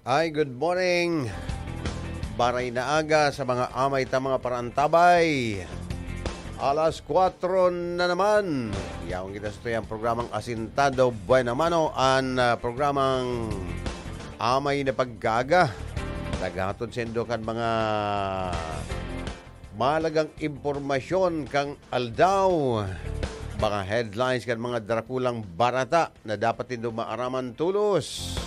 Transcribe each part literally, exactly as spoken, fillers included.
Ay, good morning. Baray na aga sa mga amay ta mga parantabay. Alas kwatro na naman. Yaon kita sa tuyang programang Asintado Buena Mano, an, ah, programang Amay na Pagkaaga. Naghatod sa indo kan mga mahalagang impormasyon kan aldaw. Mga headlines kan mga drakulang barata na dapat nindo maaraman tolos.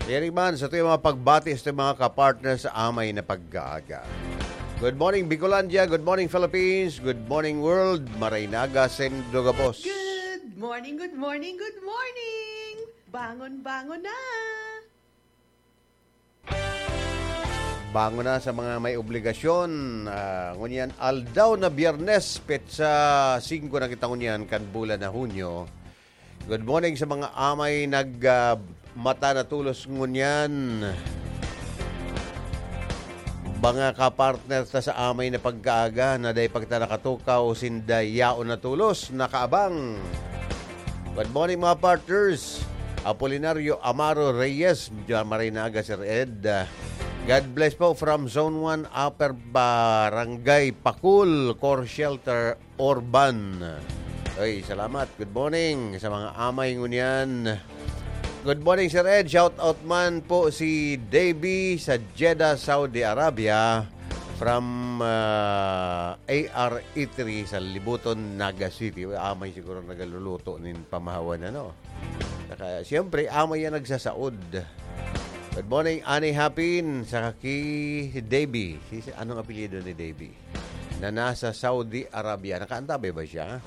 Kaya man, sa tuyang mga pagbati sa tuyang mga kapartner sa Amay na Pagkaaga. Good morning, Bicolandia. Good morning, Philippines. Good morning, world. Maray na aga sa indo gabos. Good morning, good morning, good morning! Bangon, bangon na! Bangon na sa mga may obligasyon. Ah, ngunyan, aldaw na Biyernes, petsa singko na kita ngunyan, kan bulan na Hunyo. Good morning sa mga amay nag, ah, mata na tolos ngunyan. Mga kapartner ta sa Amay na Pagkaaga na dai pa kita nakatukaw, sinda yaon na tolos, nakaabang. Good morning, mga partners. Apolinario Amaro Reyes, dyan maray na aga, Sir Ed. God bless po from Zone one, Upper Barangay Pakul, Core Shelter, Orban. Oy, salamat. Good morning sa mga amay ngunyan. Good morning, Sir Ed. Shout out man po si Davey sa Jeddah, Saudi Arabia. From, ah, A R E three sa Libuton, Naga City. Amay siguro nagaluluto nin pamahawan, ano? Saka, siyempre, amay yan nagsasaod. Good morning, Ani Hapin, saka ki Davey. Si, si, anong apelyido ni Davey? Na nasa Saudi Arabia. Nakaantabay ba siya?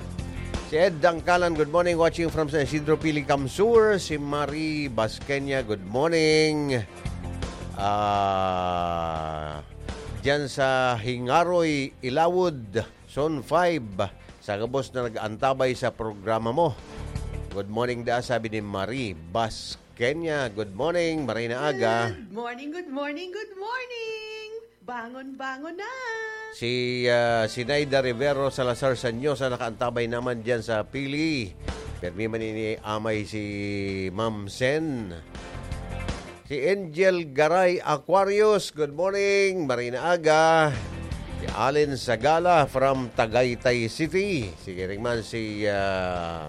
Si Ed Dangkalan, good morning. Watching from San Isidro, Pili, Kamsur. Si Marie Basqueña, good morning. Ah, diyan sa Hingaroy, Ilawod, Zone five. Sa gabos na nag-antabay sa programa mo. Good morning, da, sabi ni Marie Basqueña. Good morning, maray na aga. Good morning, good morning, good morning! Bangon, bangon na! Si, ah, Sinaida Rivero Salazar Sanyosa nakaantabay naman diyan sa Pili. Permi man ini amay si Ma'am Sen. Si Angel Garay Aquarius, good morning, maray na aga. Si Allen Sagala from Tagaytay City. Sige rin man si, ah,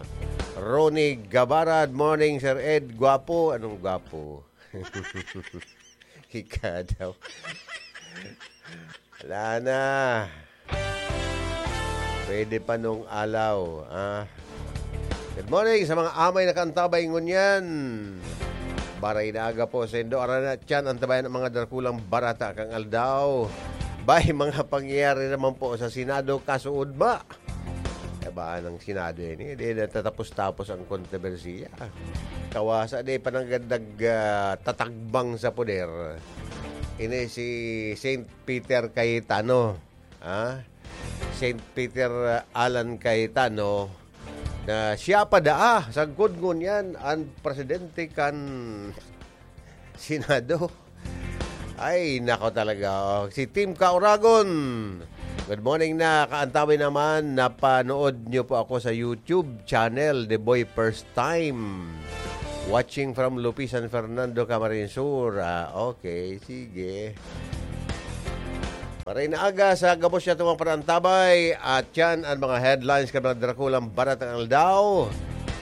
Ronnie Gabara. Good morning, Sir Ed. Gwapo. Anong gwapo? Ika daw. Wala na. Pwede pa nung alaw, ah. Good morning sa mga amay na kaantabay ngunyan. Baray na aga po sa indo. Aran na tiyan ang tabayan ng mga drakulang barata kang aldaw. Bay, mga pangyayari naman po sa Senado, kasuod ba? Kabaan ng Senado yan, eh. Di natatapos-tapos ang kontrobersiya. Kawasa, di pa nagdag, ah, tatagbang sa poder. Ini si Saint Peter Cayetano. Ah? Saint Peter, ah, Alan Cayetano, na siya pa daa, sagkod ngunyan, ang presidente kan Senado. Ay, nako talaga, oh. Si Team Kauragon. Good morning na, kaantabi naman. Napanood nyo po ako sa YouTube channel, The Boy First Time. Watching from Lupi, San Fernando, Camarines Sur. Ah, okay, sige. Maray na aga sa gabos niya itong mga panantabay. At yan ang mga headlines kan mga drakulang barat ng aldaw.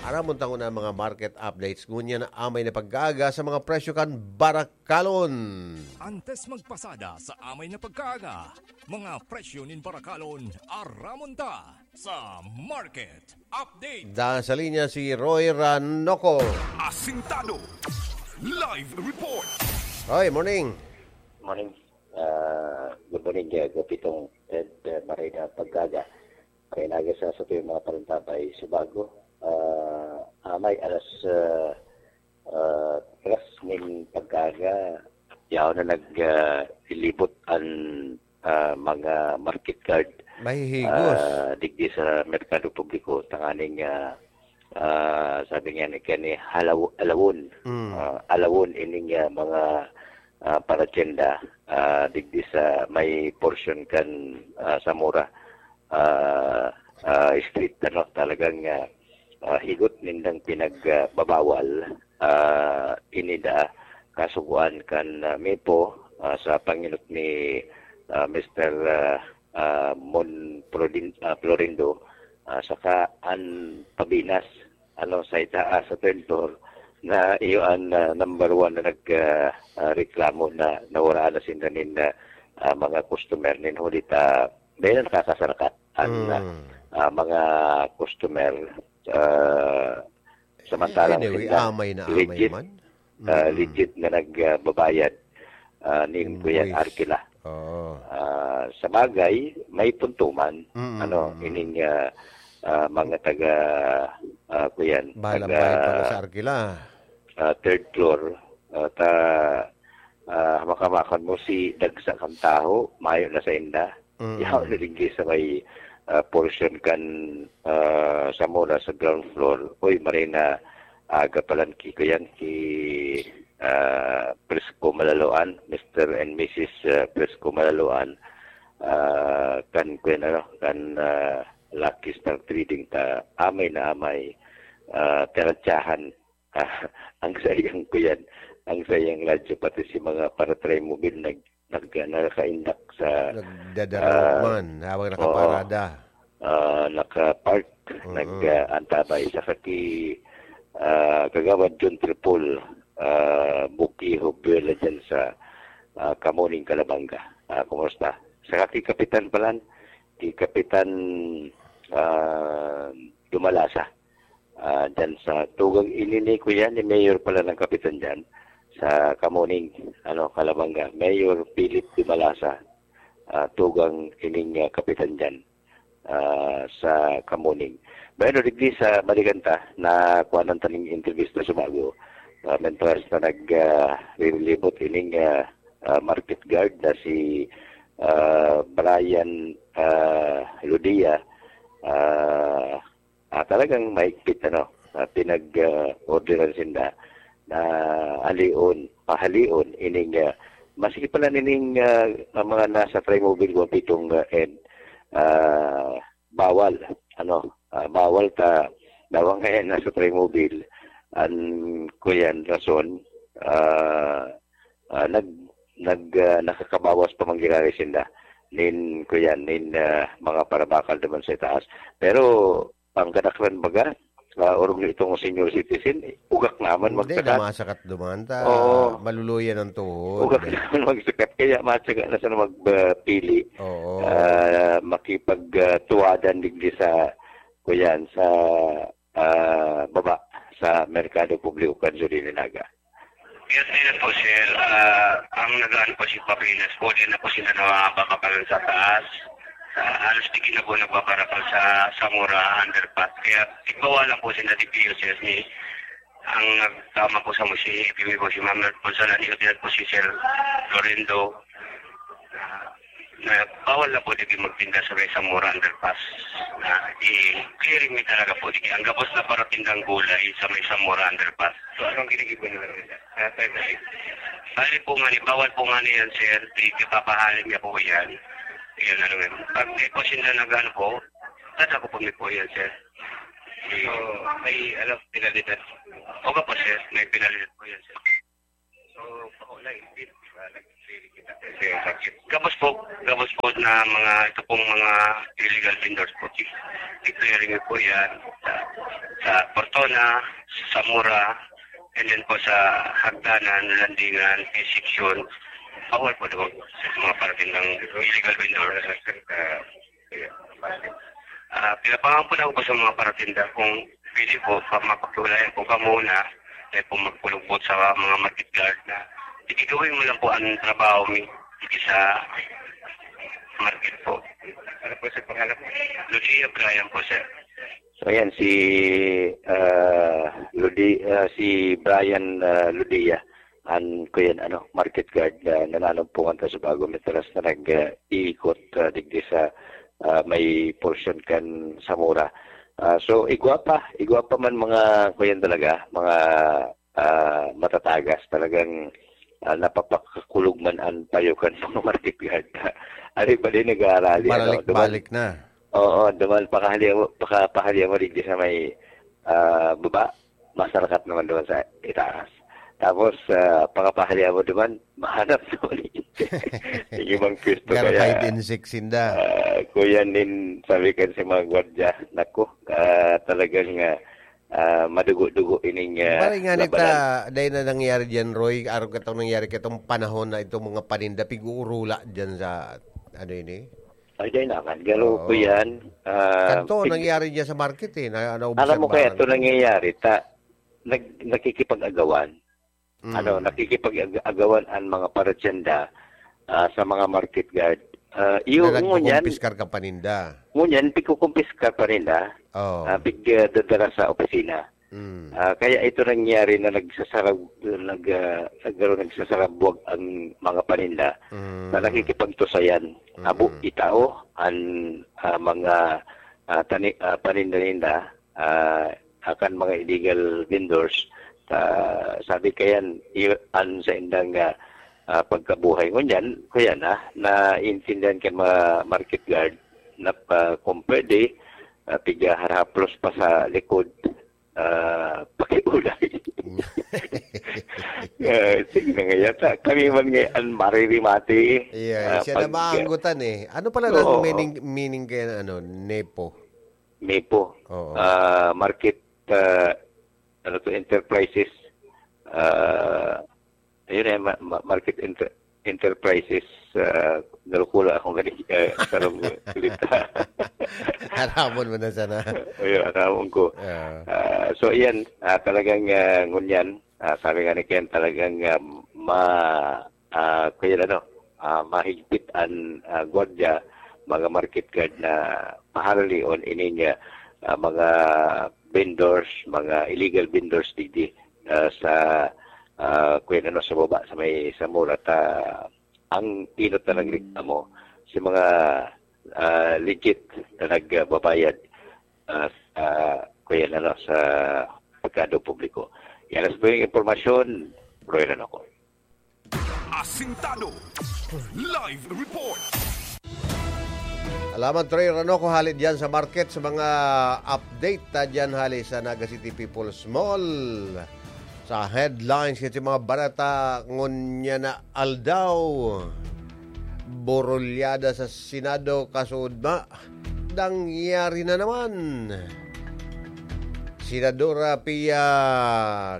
Aramon tango na ang mga market updates. Ngunyan na amay na pagkaaga sa mga presyo kan barak kalon. Antes magpasada sa amay na pagkaaga, mga presyo nin barakalon, aramon ta sa market update. Da sa linya si Roy Ranoco. Asintado. Live report. Roy, morning. Morning. Ah, good morning, uh, Gopitong Ed, uh, Marina Pagkaga. Kaya naga sa sa tuyong mga parintabay sa bago. Ah, amay alas uh, uh, tres ning pagkaga. Yaon na nag uh, ilibot an uh, mga market guard. Mahihigos. Ah, digdi sa merkado publiko, tanganing ah, ah, sabi nga ni kani halaw alawon. Mm. Ah, alawon ining ah, mga ah, paratyenda ah, digdi sa may portion kan ah, Zamora ah, ah, street, ano, talagang ah, ah, higot nindang pinagbabawal ah, ini da kasugoan kan, ah, MIPO, ah, sa pangenot ni, ah, Mister, ah, ah, Mon Prodin-, ah, Florindo, ah, saka an Pabinas, ano, sa itaas, sa third floor, na iyo an, ah, number one na nag, ah, ah, reklamo na nawaraan na sinda nin, ah, ah, mga customer nin huli ta, dahil nakakasarakat an, ah, Mm. ah, mga customer, ah, samantalang Anyway, sinda amay na amay legit, man. ah, Mm. legit na nagbabayad, ah, nin Kuya Invoice. Arkila. Oo. Ah, sa bagay, may punto man, Mm, ano, mm. ining, ah, ah, mga taga, ah, kuyan, Bahalang taga, bahay pa sa Arkila. ah, third floor, ah, ta, ah, hamak-hamakan mo si dagsa kan taho, mayo na sa inda. Mm. Yaon na digdi sa may, ah, portion kan, ah, Zamora sa ground floor. Uy, maray na aga pa lang ki, kuyan, ki, ah, Prisco Malaloan, Mister and Missus, ah, Prisco Malaloan, ah, kan, kuyan, ano, kan, ah, Lucky Star Trading ta amay na amay, ah, tinatyahan, ah, ang sayang, kuyan, ang sayang radyo, pati si mga para-Trimobile nag-, nag-, nakakaindak sa, Nagdadaraog ah, man habang oo. nakaparada. Ah, naka-park, Mm. nag, ah, antabay sa kaki, ah, Kagawad John Tripol, ah, Buki Hubuela dyan sa, ah, Kamuning, Calabanga. Ah, kumusta? Sa kaki Kapitan palan, ki Kapitan, ah, Dumalasa. Ah, dyan sa tugang ini ni kuya, ni Mayor pala ng Kapitan dyan, sa Kamuning, ano, Calabanga. Mayor Philip Dumalasa, ah, tugang ining, ah, Kapitan dyan, ah, sa Kamuning. Bueno, digdi sa balikan ta, na kuha ng taning intervista sa bago. Ah, mentras na nag, ah, riribot ining, ah, ah, market guard na si, ah, Brian, ah, Ludia, ah, ah, talagang mahigpit, ano, ah, pinag, ah, orderan sinda na halion, pahalion, ining, ah, maski pala nining, ah, ang mga nasa Trimobile ko pitong, ah, and, ah, bawal, ano, ah, bawal ta, dawang kaya nasa Trimobile, an, kuyan, rason, ah, ah, nag, nag, ah, nakakabawas pa man giraray sinda nin, kuyan, nin, ah, mga parabakal naman sa itaas. Pero, ang kadaklan baga, ah, orog na itong senior citizen, eh, ugak naman Hindi, magsakat. namasakat duman ta, Oo. maluluyan ang tuhod. Ugak naman magsakat, kaya matyaga na sana magpili, Oo. ah, makipag, ah, tuwadan digdi sa, kuyan, sa, ah, baba sa Merkado Publiko kan Zurinaga. Yes, din po, sir. Ah, ang nagaan po si Papinas po, din na po sila nababakalan sa taas. Ah, halos di kinabo nagbabarakal sa Zamora underpass. Kaya igbawa lang po sila di P U C S ni ang nagtama po sa musisi, ipimi po si Ma'am Ponsalan, ikot po si Sir Lorendo. Ah, na bawal na po digdi magtinda sa may Zamora Underpass. Na i-clearing mi talaga po digdi. Ang gabos na paratindang gulay sa may Zamora Underpass. So, anong ginigibo nila dito? Ah, tayo na. Bali po nga ni, bawal po nga ni yan, sir. Ipapahalin niya po yan. Yan, ano yan. Pag di po sila nag-ano po, tatako po mi po yan, sir. So, may, ano, penalidad? Opo po, sir. May penalidad po yan, sir. So, pakulay, hindi, di ba, nag-clearing kita. Kasi, bakit? Gabos po, gabos po na mga, ito pong mga illegal vendors po. I-clearing po yan sa, sa Portona, sa Zamora, and then po sa Hagdanan, Landingan, P section. Bawal po doon sa mga parating ng illegal vendors. Ah, pinapangampun ako po sa mga paratinda kung pwede po, pa, mapaghiwalayan po ka muna, dahil po magpulupot sa mga market guard na, sige, gawin mo lang po ang trabaho mi, sige sa market po. Ano po sa pangalan po? Lucia Brian po, sir. So, ayan, si, ah, Ludi-, ah, si Brian, ah, Ludia, an, kuyan, ano, market guard na nananumpongan ta sa bago, matalas na nag, ah, iikot, ah, digdi sa, ah, may portion kan Zamora. Ah, so, igwa pa, igwa pa man mga, kuyan talaga, mga, ah, matatagas, talagang, ah, napapakakulog man an payo kan mga market guard. Ari ba din nag-aarali, ano, duman? Balik-balik na. Oo, duman, pakahali mo, paka-, pahali mo digdi sa may, ah, baba, masarakat naman duman sa itaas. Tapos, ah, pakapahalya mo duman, mahanap naman yung ibang pwesto. Gar kaya, five and six sinda. Ah, kuya nin, sabi kan si mga gwardiya, "Naku, ah, talagang, ah, ah, madugo-dugo ining, ah, Bali nga ni labanan." Ta, dahil na nangyari dyan, Roy, araw katong nangyari katong panahon na itong mga paninda, pig-uurula dyan sa, ano ini? Ay, dahil naman. Garo Oo. ko yan. Ah, Kanto, pig- nangyari dyan sa market eh. Na, naubos Alam mo ang kaya bahan. Ito nangyayari, ta, nag-, nakikipag-agawan. Mm. Ano, nakikipag-agawan ang mga paratyenda, ah, sa mga market guard. Ah, iyo, Na ngunyan, nagkukumpiskar ka paninda. ngunyan, pikukumpiskar pa nila. Oo. Ah, pig, ah, dadala sa opisina. Mm. Ah, kaya ito nangyari na nagsasarab-, nag, ah, nagkaroon, nagsasarabwag ang mga paninda Mm. na nakikipagtusayan. Abo, Mm. itao ang, ah, mga, ah, tani-, ah, paninda-ninda, ah, akan mga illegal vendors. Ah, sabi kayan, i-, an sa indang, ah, ah, pagkabuhay. Ngunyan, kuya na, naintindihan kan mga market guard na, ah, kung pwede, ah, piga harahaplos pa sa likod, ah, pakiulay. Ah, sige na nga yata. Kami man ngayon, maririmati, Yeah, ah, siya na pag- maanggutan eh. Ano pala Oo. ang meaning, meaning kaya ng ano, nepo? Nepo. Oo. Ah, market, ah, ano to, enterprises. Ah, ayun eh, ma-, ma-, market enter-, enterprises. Ah, nalukula akong gani, ah, sarong salita. Aramon mo na sana. Ayun, aramon ko. Ah. Ah, so, iyan, ah, talagang, ah, ngunyan, ah, sabi nga ni Ken, talagang, ah, ma-, ah, kaya ano, ah, mahigpit an, ah, gwardiya, mga market guard na paharalion ining, ah, ah, mga vendors, mga illegal vendors digdi, ah, sa, ah, kaya ano, sa baba, sa may Zamora, ta, ang inot na nagreklamo, si mga, ah, legit na nagbabayad, ah, sa, kaya ano, sa merkado publiko. Yan ang sa tuwing impormasyon, Roy Ranaco. Asintado. Live report. Salamat, Roy Ranaco, hali diyan sa market, sa mga update ta diyan hali sa Naga City People's Mall. Sa headlines, kasi mga barata, ngunyan na aldaw. Borulyada sa Senado, kasudma. Nangyari na naman. Senadora Pia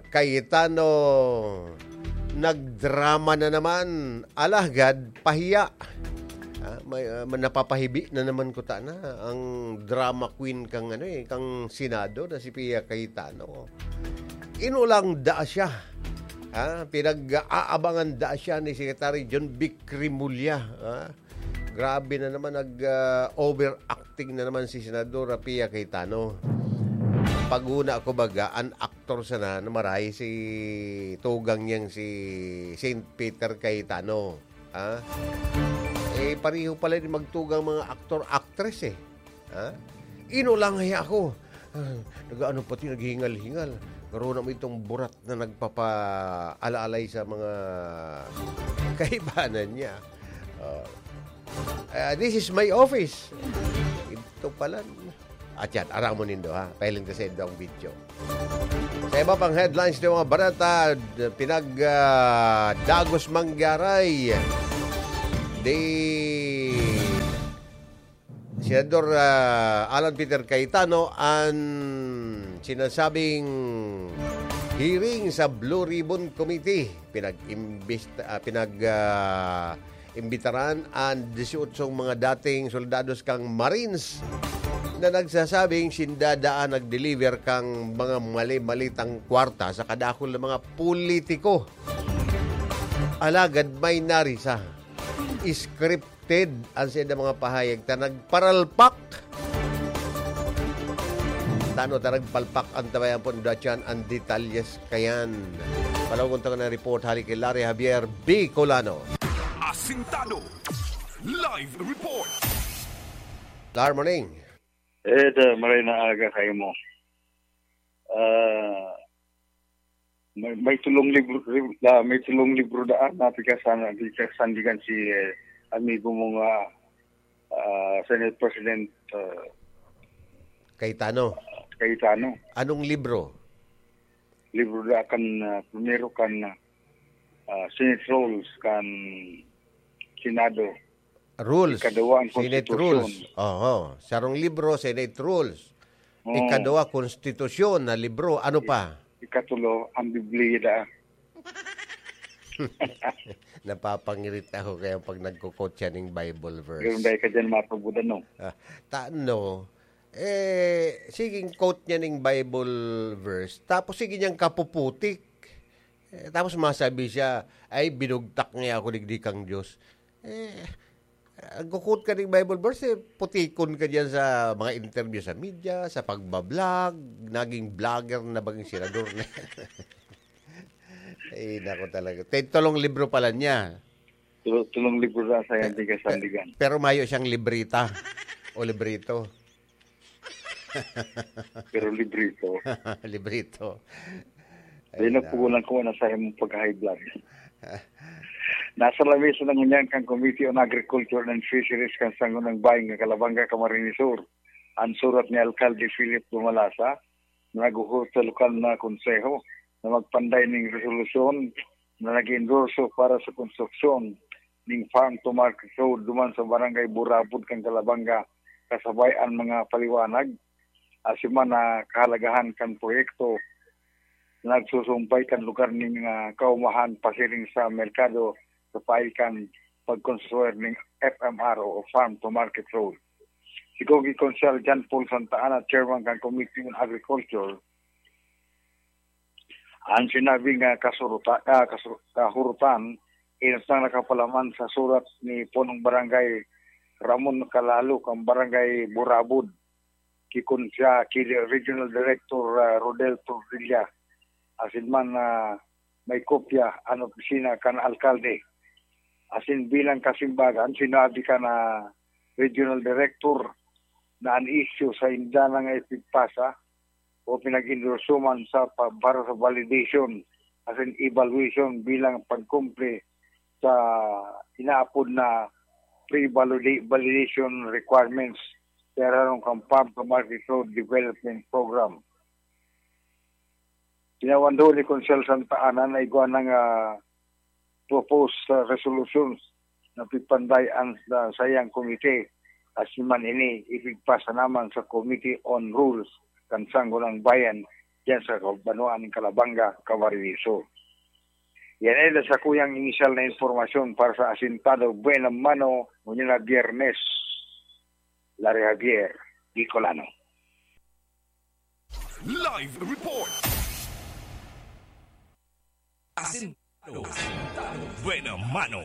Cayetano, nagdrama na naman. Alagad, pahiya. Ah, may, ah, napapahibi na naman kuta na ang drama queen kang, ano eh, kang Senado na si Pia Cayetano. Inulang daa siya. Ah, pinag-aabangan daa siya ni Secretary John Vic Remulla. Ah, grabe na naman, nag, ah, overacting na naman si Senadora Pia Cayetano. Paguna ko baga, an aktor sana na maray si tugang niyang si Saint Peter Cayetano. Ah? Eh, pareho pala din magtugang mga aktor, actress eh. Ha? Inulang hiya ako. Ah, nag-ano pati, naghingal-hingal. Karoon mo itong burat na nagpapaalaalay sa mga kaibanan niya. Oh. Ah, this is my office. Ito pala. At yan, aram mo nindo, ha? Pahiling ka sa indo ang video. Sa iba pang headlines ng mga barata, d-, pinag, ah, dagos manggaray. Di Senador, ah, Alan Peter Cayetano an sinasabing hearing sa Blue Ribbon Committee. Pinag-imbista-, ah, pinag, ah, imbitaran an dieciocho mga dating soldados kang Marines na nagsasabing sinda daa nag-deliver kang mga mali-malitang kwarta sa kadakul na mga politiko. Alagad may narisa. Script Ted, ang saida mga pahayag ta nagparalpak. Tano ta nagpalpak ang tabayan po, datyan ang detalyes kayan. Palawag ta na report hali kay Larry Javier Bicolano. Asintado. Live report. Lar, morning. Eh, da, maray na aga kayo mo. Ah, may, may tulong libro, lib-, ah, may tulong libro daan na pikasan, pikasan dikan si, eh, amigo mo nga, ah, Senate President, ah, Cayetano. Cayetano. Anong libro? libro da kan, ah, primero kan, ah, Senate Rules kan Senado. Rules. Ikaduwa ang Senate Constitution. Rules. Oho. Sarong libro, Senate Rules. Oo. Ikaduwa, konstitusyon na libro. Ano pa? Ikatulo, ang Biblia da. Napapangirit ako kaya pag nagko-quote siya ning Bible verse. Pero dahil ka dyan, matubudan, no? Ah, ta-, no? Eh, sige, quote niya ning Bible verse. Tapos sige niyang kapuputik. Eh, tapos masabi siya, "Ay, binugtak niya ako digdi kang Diyos." Eh, nagko-quote ka ning Bible verse, eh, putikon ka diyan sa mga interview sa media, sa pagbablog, naging vlogger na baging senador na. Ay, nako talaga. Te-, tulong libro pala niya. Tulo-, tulong libro na sa Pe-, yan, tigas pe-, sandigan. Pero mayo siyang librita o librito. Pero librito. Librito. Ay, Ay, na. Napugulan ko na sa imong pagka-high blood. Nasa lamesa na ngunyan kan Committee on Agriculture and Fisheries kan Sangguniang Bayan kan Calabanga, Camarines Sur, an surat ni Alkalde Philip Dumalasa, na naghuhot sa lokal na konseho na magpanday ning resolusyon na nag-endorso para sa konstruksyon ning farm to market road duman sa Barangay Burabod kan Calabanga, kasabay an mga paliwanag asin man na kahalagahan kan proyekto na nagsusumpay kan lugar nin mga kaumahan pasiring sa merkado sa paagi kan pagkonstruir nin F M R o farm to market road. Si Cogi Konsehal John Paul Santa Ana, chairman kan Committee on Agriculture, an sinabing, ah, kasuruta-, ah, kasu-, kahurutan, inutang nakapalaman sa surat ni Punong Barangay Ramon Calalo kan Barangay Burabod, ki Konse-, ki Regional Director, ah, Rodel Tordilla, asin man, ah, may kopya an opisina kan alkalde. Asin bilang kasimbagan, sinabi kan, ah, Regional Director na an isyu sa inda na nga ipigpasa o pinag-endorso man sa pa-, para sa validation asin evaluation bilang pagkumple sa inaapod na pre-valida-, validation requirements sa irarom kan Farm to Market Road Development Program. Tinawan duon ni Konsehal Santa Ana na igwa na nga proposed, ah, resolutions na pigpanday an, ah, saiyang komite, asin man ini ipigpasa naman sa Committee on Rules kan Sangguniang Bayan diyan sa banwaan nin Calabanga, Camarines Sur. Yan ay sakuyang inisyal na impormasyon para sa Asintado Buena Mano, ngunyan na Biyernes. Larry Javier, Bicolano. Live report. Asin Buena Mano.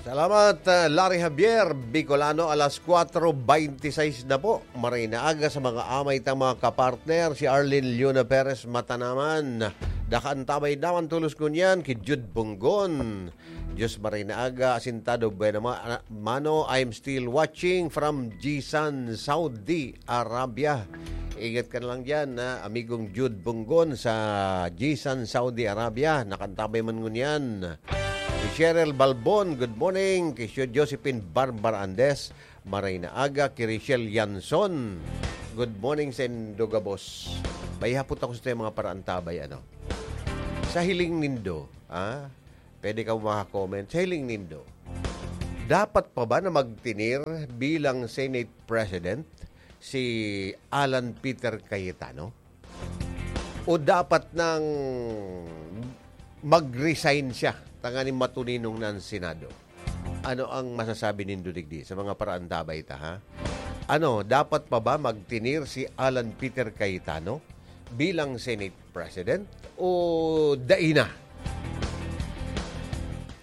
Salamat, uh, Larry Javier, Bicolano. Alas kwatro beintiseis na po. Maray na aga sa mga amay tang mga kapartner, si Arlene Leona Perez Matanaman. Dakan tabay naman tulos ngunyan ki Jude Bunggon. Diyos maray na aga, Asintado Buena Ma-, Mano, I'm still watching from Jisan, Saudi Arabia. Ingat ka na lang dyan, ha, amigong Jude Bunggon sa Jisan, Saudi Arabia. Nakantabay man ngunyan. Si Cheryl Balbon, good morning. Kay Sir Josephine Barbara Andes, maray na aga. Kay Richelle Yanson, good morning sa indo gabos. May hapot ako sa mga paraantabay, ano? Sa hiling nindo, ah, pwede ka maka-comment. Sa hiling nindo, dapat pa ba na magtinir bilang Senate President si Alan Peter Cayetano? O dapat nang mag-resign siya tanganing matuninong na ang Senado? Ano ang masasabi nindo digdi sa mga paraantabay ta, ha? Ano, dapat pa ba magtinir si Alan Peter Cayetano bilang Senate President o dai na?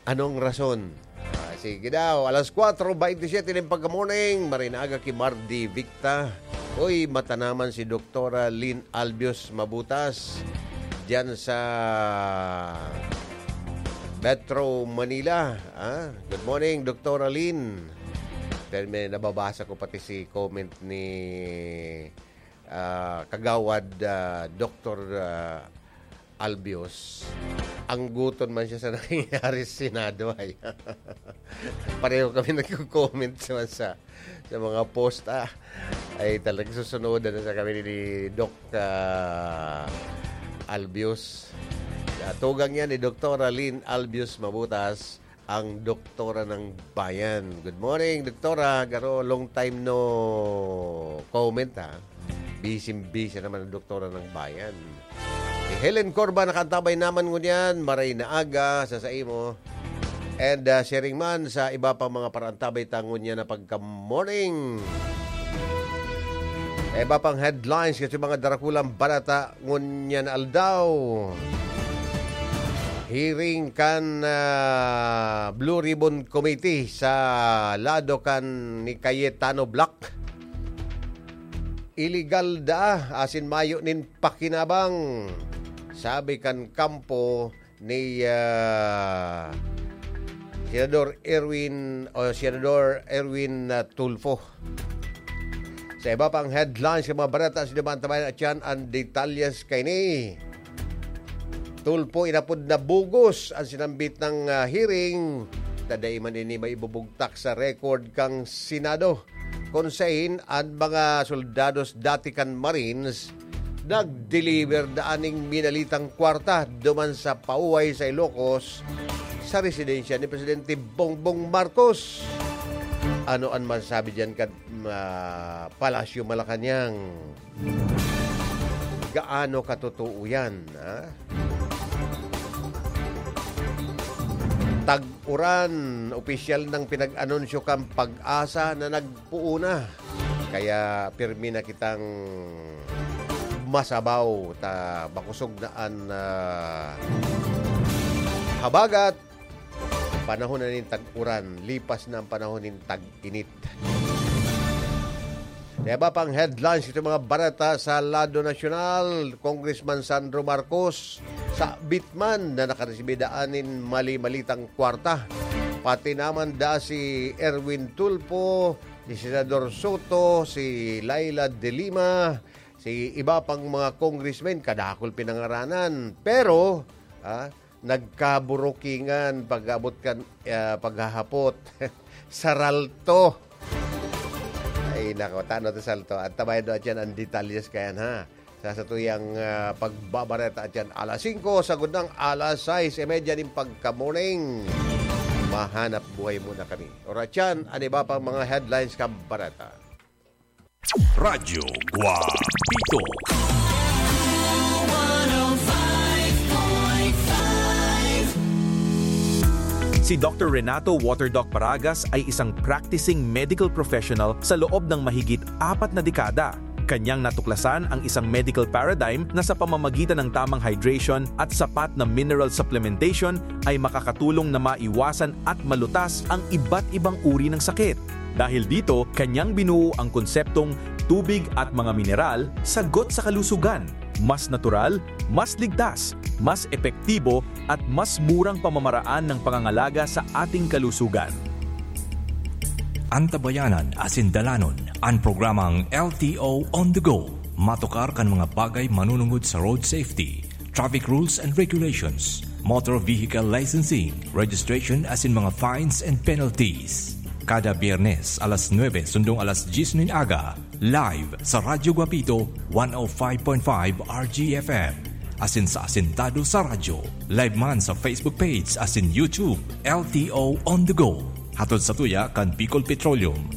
Anong rason? Ah, sige daw, alas kwatro beintisyete nin pagka-morning, maray na aga ki Mardi Victa. Uy, matanaman si Doktora Lynn Albios Mabutas diyan sa Metro Manila. Ah, good morning, Doktora Lynn. Pero may nababasa ko pati si comment ni, ah, Kagawad, ah, Doktor, ah, Albios. Ang guton man siya sa nangyayari sa Senado, ay. Pareho kami nagko-comment sa, sa, sa mga post, ah. Ay, talagang susunodan na sa kami ni Doc, ah, Albius. Tugang yan ni Doktora Lynn Albius Mabutas, ang Doktora ng Bayan. Good morning, Doktora. Garo, long time no comment, ha? Busy-busy naman ang Doktora ng Bayan. Si Helen Corba nakaantabay naman ngunyan, maray na aga sa saimo. And, ah, sharing man sa iba pang mga paraantabay ta ngunyan na pagka-morning. Iba pang headlines kasi mga darakulang barata ngunyan na aldaw. Hearing kan, ah, Blue Ribbon Committee sa lado kan ni Cayetano Black. Iligal daa, asin mayo nin pakinabang, sabi kan kampo ni, ah, Senador Erwin, o Senador Erwin, ah, Tulfo. Sa iba pang headlines sa mga bareta, sa Duman Tabayan at yan ang detalyes kaini. Tulfo inapod na bugos ang sinambit ng, ah, hearing. Tadai man ini maibubugtak sa record kang Senado. Kun sain an mga soldados dati kan Marines nag-deliver daa ning minalitang kwarta duman sa pauhay sa Ilocos sa residensya ni Presidente Bongbong Marcos. Ano an masasabi diyan kan, ah, Palasyo Malacañang? Gaano katotoo yan, ha? Tag-uran, opisyal nang pinag-anunsyo kan PAGASA na nagpoon na. Kaya pirmi na kitang masabaw ta makosog na an, ah, habagat. Panahon na nin tag-uran, lipas na ang panahon nin tag-init. Sa iba pang headlines, ito mga bareta sa lado nasyonal, Congressman Sandro Marcos, sabit man na nakaresibi daan nin mali-malitang kwarta. Pati naman da si Erwin Tulfo, si Senador Soto, si Leila de Lima, si iba pang mga congressmen, kadakul pinangaranan. Pero, ah, nagkaburukingan pag-abot kan, ah, paghahapot. Saralto. Ay, nako, tano to salto. At tabayan do atyan ang detalyes kayan, ha? Sa satuyang, ah, pagbabareta atyan alas singko, sagod ng alas sais y media nin pagka-morning. Mahanap buhay muna kami. Oratyan, an iba pang mga headlines kan bareta. Radyo Guapito. Si Doctor Renato Waterdoc Paragas ay isang practicing medical professional sa loob ng mahigit apat na dekada. Kanyang natuklasan ang isang medical paradigm na sa pamamagitan ng tamang hydration at sapat na mineral supplementation ay makakatulong na maiwasan at malutas ang iba't ibang uri ng sakit. Dahil dito, kanyang binuo ang konseptong tubig at mga mineral, sagot sa kalusugan. Mas natural, mas ligtas, mas epektibo, at mas murang pamamaraan ng pangangalaga sa ating kalusugan. Antabayanan asin dalanon an programang L T O On The Go. Matukar kan mga bagay manunungod sa road safety, traffic rules and regulations, motor vehicle licensing, registration asin mga fines and penalties. Kada Biyernes, alas nuebe sundong alas dyes nin aga, live sa Radyo Guapito, one oh five point five R G F M. Asin sa Asintado sa Radyo, live man sa Facebook page asin YouTube, L T O On The Go. Hatod sa tuya kan Bicol Petroleum,